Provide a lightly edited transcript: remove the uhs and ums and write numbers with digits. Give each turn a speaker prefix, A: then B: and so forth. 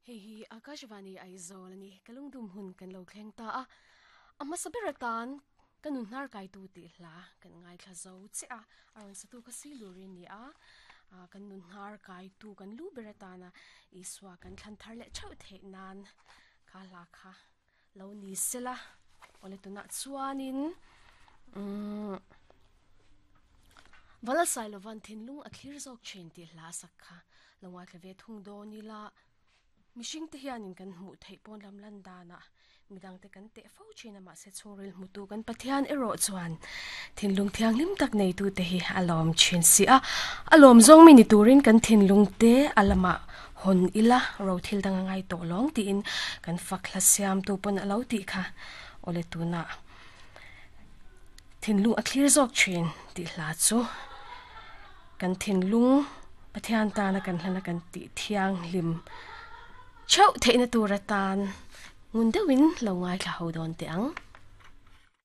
A: Hei hi Akashvani Aizawl a ni, ka lungdum hun kan lo thleng ta a, a hmasa ber atan ka nun hnar kaitu tih hla kan ngaithla zo che a, a rawn satu kha Silurin a ni a, kan nun hnar kaitu kan lu ber atana Isua kan thlan thar leh theuh theih nan kha hla kha lo ni sela awle tunah chuanin umm Vala Sailovan thinlung a thlir zawk thin tih hla a sak kha lo ngaithla ve thung dawn ila mihring te hianin kan hmuh theih pawn lam lan danah midangte kan teh fo thin a mahse chhungril hmutu kan Pathian erawh chuan thinlung thianghlim tak neitute hi a lawm thin si a a lawm zawng mi ni turin kan thinlung te a lamah Hawn ila ro thil dang a ngai tawh lawng tiin kan fak hla siamtu pawn a lo tih kha awle tunah thinlung a thlir zawk thin tih hla chu kan thinlung Pathian tana kan hlana kan tih thianghlim theuh theihna tur atan ngun deuhin lo ngaithla ho dawn teh ang.